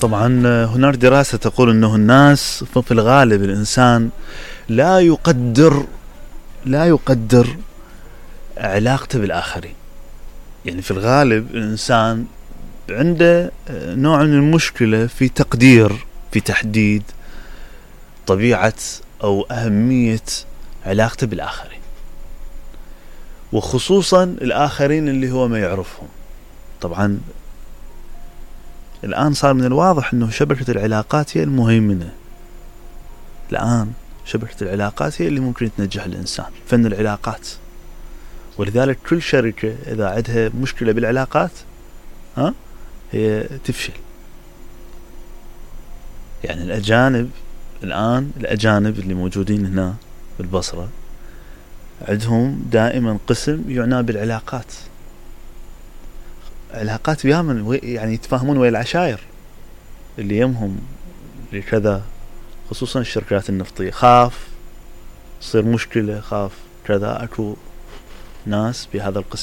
طبعا هناك دراسة تقول انه الناس في الغالب الانسان لا يقدر علاقته بالاخرين. يعني في الغالب الانسان عنده نوع من المشكلة في تحديد طبيعة او اهمية علاقته بالاخرين، وخصوصا الاخرين اللي هو ما يعرفهم. طبعا الآن صار من الواضح أنه شبكة العلاقات هي المهيمنة. الآن شبكة العلاقات هي اللي ممكن تنجح الإنسان، فن العلاقات. ولذلك كل شركة إذا عندها مشكلة بالعلاقات هي تفشل. يعني الأجانب اللي موجودين هنا بالبصرة عندهم دائما قسم يعنى بالعلاقات. علاقات بيامن، يعني يتفاهمون ويا العشائر اللي يمهم لكذا، خصوصا الشركات النفطية. خاف تصير مشكلة، خاف كذا، اكو ناس بهذا القسم